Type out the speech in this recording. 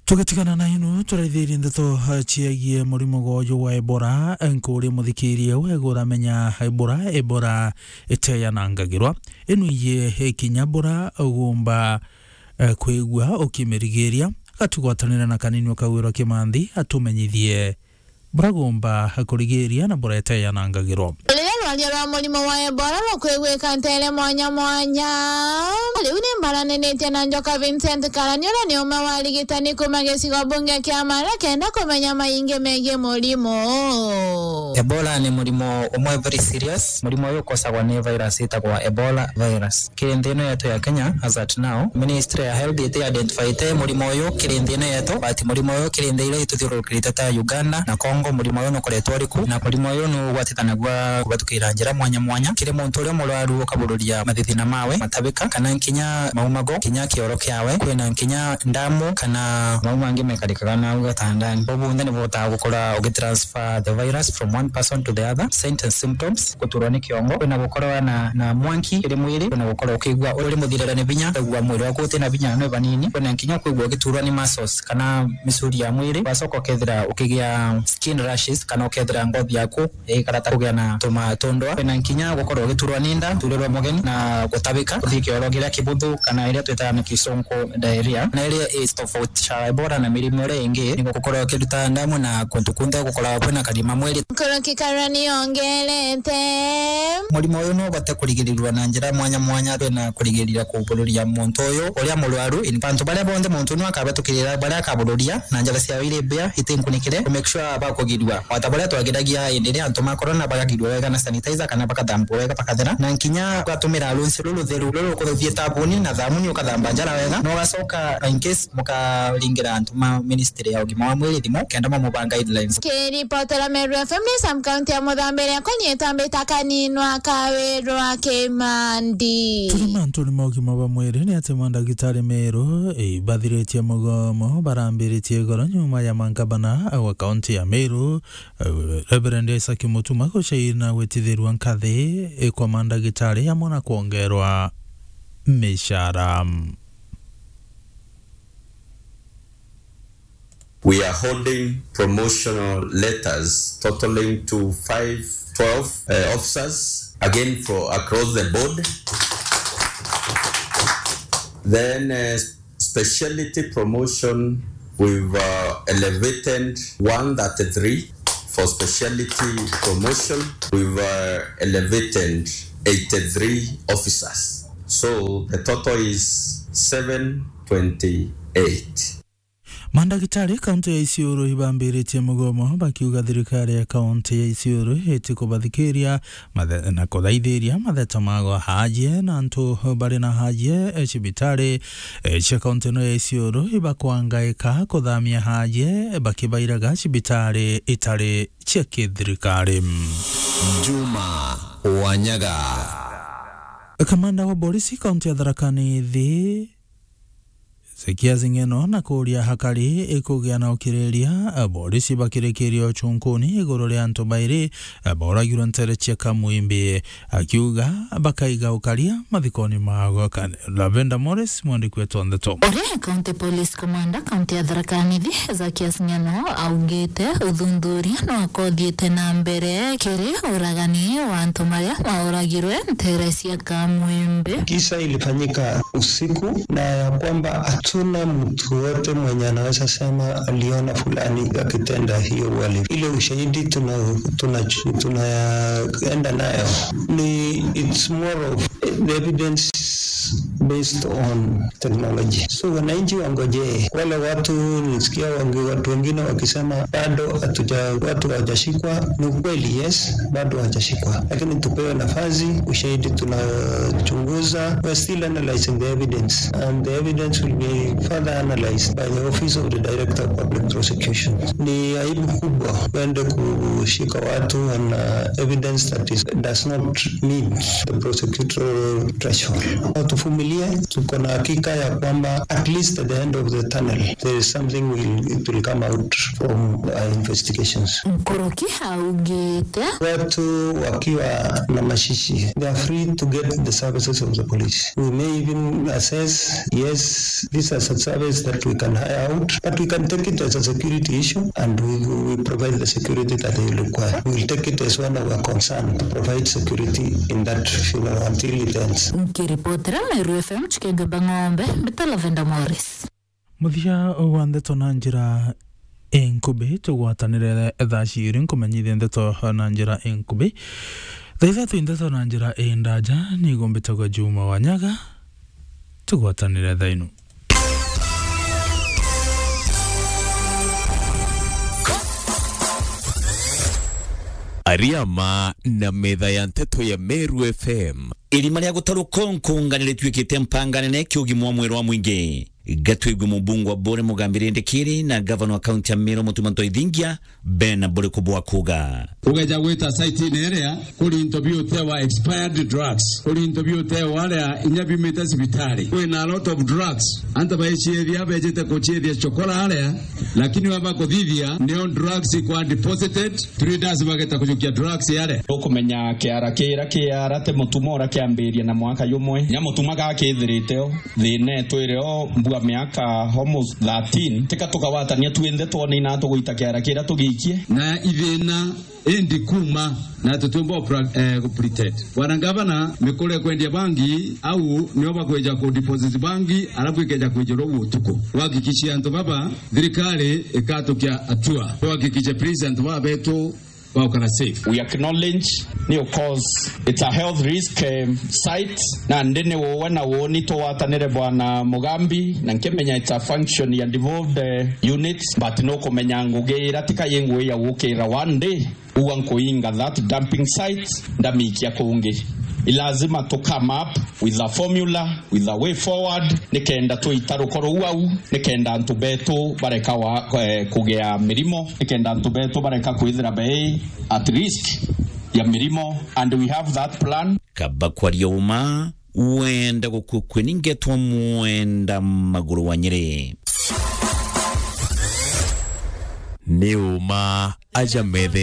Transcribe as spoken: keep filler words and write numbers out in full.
Tugitigana na ino, turaithirie ndeto, eh, ciagie murimo gwa uyu wa Ebola, eh, nkuria muthikiria, we guramenya Ebola, Ebola iteyanangagirwa. Ino iye ikinya bura ugumba, eh, kwigua ukimirigiria, gatugwatanira na Kanini Ukagwirwa Kimanthi atumenyithie bura gumba kurigiria na bura iteyanangagirwa. Riria rwaria rwa murimo wa Ebola rukwigwika ntere mwanya mwanya, riu ni mbaraniritie na Njoka Vincent Karani, uria ni umwe wa arigitani kuma gicigo bunge kia Mara, kenda kumenya maingi megie murimo. Ebola ni murimo umwe very serious. Murimo uyu ukosagwa ni virus itagwa Ebola virus. Kiri nthi ino yetu ya Kenya, as at now, Ministry ya Health iti identifyite murimo uyu kiri nthi ino yetu, but murimo uyu kiri nthi iria ituthiururukirite ta Uganda na Congo, murimo uyu nukoretwo uri ku, na murimo uyu nugwatikanagua kubatukira njira mwanya mwanya. Kiri muntu uria murwaru ukabururia mathithina mawe, matabika, kana nkinya maumago, kinya kioro kiawe, kwina nkinya ndamu kana mau mangi mekarikaga nau gatandani. Bau bonthe nibuhotaga gukora ugitransfer the virus from one person to the other. Signs and symptoms: guturwa ni kiongo, kwina gukorwa na, na mwanki kiri mwiri, kwina gukorwa ukigua uri muthirire ni binya, kwigua mwiri waku utina binya ni banini, kwina nkinya kwigua ugiturwa ni muscles kana misuri ya mwiri, wacoka ukethira ukigia skin rashes kana ukethira ngothi yaku igikara ta kugia na tuma tundwa, kwina nkinya gukorwa ugiturwa ni nda, turirwa mugeni na gutabika, kuthii kioro kiria kibuthu kana iria twitaga na Kisungu diarrhea, na iria is tofauti cha Ebola na mirimo iria ingi, ni gukorwa ukiruta ndamu na kuntu kunthe gukoragwa kwina karima mwiri. Nkuruki Karani ongerete. Murimo uyu no ubate kurigirirwa na njira mwanya mwanya, twina kurigiria kubururia muntu uyu uria murwaru. In bantu baria bonthe muntu uyu akabatukirira, baria akabururia na njira ciao iri mbia, itinkunikire, to make sure bakugirua. O ta baria twagiragia hindi iria antu ma corona bagagirua wega na sanitizer kana bakathambua wega bakathera, na nkinya ugatumira runsi ruru rutheru ruru rukuthithie thabuni na thamuni ukathamba njara wega, na ugacoka in case mukaringira antu ma ministry ya ugima wa mwiri thimu kenda mamubaa guidelines. Kiripotera Meru F M ni Sam County ya Muthambiria, kwenye tambita Kanini Ukagwirwa Kimanthi. Turi mantuni ma ugima bwa mwiri ni ati mandagitari Meru ibathiritie mugomo barambiritie igoro nyuma ya mangabana wa kaunti ya Meru, eh, Reverend Isaac Mutuma gucaina gwitithirua nkathi, eh, kwa mandagitari amwe na kwongerwa micara. We are holding promotional letters totaling to five twelve, uh, officers, again for across the board. Then, uh, speciality promotion, we've, uh, elevated one thirty-three for speciality promotion. We've, uh, elevated eighty-three officers. So the total is seven twenty-eight. Mandagitari kaunti ya Isiolo ibambiritie mugomo bakiuga thirikari ya kaunti ya Isiolo itikubathikiria mathe-, na kuthaithiria matheta mago haajie na antu bari na haajie, eh, cibitari, eh, cia kaunti ino ya Isiolo ibakwangaika kuthamia haajie bakibairaga cibitari itari cia kithirikari. Juma Wanyaga. Kamanda wa borisi kaunti ya Tharaka Nithi, Zekias Ng'eno na kuuria hakari ikugia na ukiriria, borisi bakirikirie uchunkuni iguru ria antu bairi boragirwe ntere cia Kamwimbi, akiuga bakaiga ukaria mathikoni mago. Kan-, Lavenda Morris, mwandiki wetu wa ndeto. Uria County Police Commander kaunti ya Tharaka Nithi, Zakias Ng'eno, augite uthuthuria no kothiite na mbere kiri uragani wa antu maria mauragirwe ntere cia Kamwimbi. Kisa ilifanyika usiku na ya kwamba hatuna mtu wote mwenye anaweza sema aliona fulani akitenda hiyo uhalifu. Ile ushahidi tuna-, tuna-, tunaenda nayo ni, it's more of the evidence based on technology. So wananchi wangojee. Wale watu nilisikia wangi-, watu wengine wakisema bado hatuja-, watu hawajashikwa. Ni ukweli, yes, bado hawajashikwa. Lakini tupewe nafasi, ushahidi tunachunguza. We're still analyzing the evidence and the evidence will be further analyzed by the office of the Director of Public Prosecution. Ni aibu kubwa kwende kushika watu on, uh, evidence that is, does not meet the prosecutorial threshold. Tuvumilie. Tuko na hakika ya kwamba at least at the end of the tunnel, there is something will, it will come out from our investigations. Nkuruki augite. Watu wakiwa na mashishi, they are free to get the services of the police. We may even assess, yes, this is a service that we can hire out, but we can take it as a security issue and we, we provide the security that they require. We will take it as one of our concern to provide security in that funeral until it ends. Nkiripotera Meru F M, Chikenge Bang'ombe, mbita Lavenda Morris. Muthia wa ndeto na njira inkubi, tugwatanire thaa ciiri nkumenyithia ndeto na njira inkubi. Thaa ithatu ndeto na njira indaja, nigo mbitagwa Juma Wanyaga. Tugwatanire thaa inu. Ariama na metha ya nteto ya Meru F M. Irima ria gutaruka nkunga nirituikite mpanga nene kiugima wa mwiri wa mwingi. Gatwigwe mubunge wa Bore Mugambi Rindikiri na gavana wa kaunti ya Meru Mutuma Ntoithingia Ben Buriku bwa kuga. Ugeja gwita site-ini iria, kuri into biutewa expired drugs, kuri into biutewa aria inya biumite cibitari. Kwina a lot of drugs. Antu baiciethia, bejite kuciethia chokora aria, lakini wamba kuthithia, nio drugs ikwa deposited, traders bageta kujukia drugs aria. Ukumenya kiara kira kiara ti Mutuma ura kiambiria na mwaka jumwe. Nya Mutuma gakithirite o, thina itwire o mbua miaka almost thirteen. Tika tukawatania twinthe twone ina tugwita kiara kira tugiikie. Na ithina indi kuma na tutiumba kupra-, eh, kupretend. Bwana Ngavana, mikore kwendia bangi, au nio bakweja ku deposit bangi, alafu ikeja kwijirwo utuku. Wahakikishie antu baba, thirikari ikatukia hatua. Tuhakikishe please antu baba betu baukara safe. We acknowledge ni, of course, it's a health risk, um, site, na ndi ni uwe na woni tugwatanire Bwana Mugambi, na nkimenya it's a function ya devolved, uh, units, but no kumenya ngugi ira tika yi ngugi ya gukira one day. Uga nkuinga that dumping site, ndamikia kungi. I lazima to come up with a formula, with a way forward, nikenda twita rukoro ruu au, nikenda antu betu bareka wa, eh, kugea mirimo, nikenda antu betu bareka kwithira bei at risk ya mirimo, and we have that plan. Kaba kwaria uma, wenda gukua kweni ngetwa mwenda maguru wa Nyeri. Ni uma aja methene.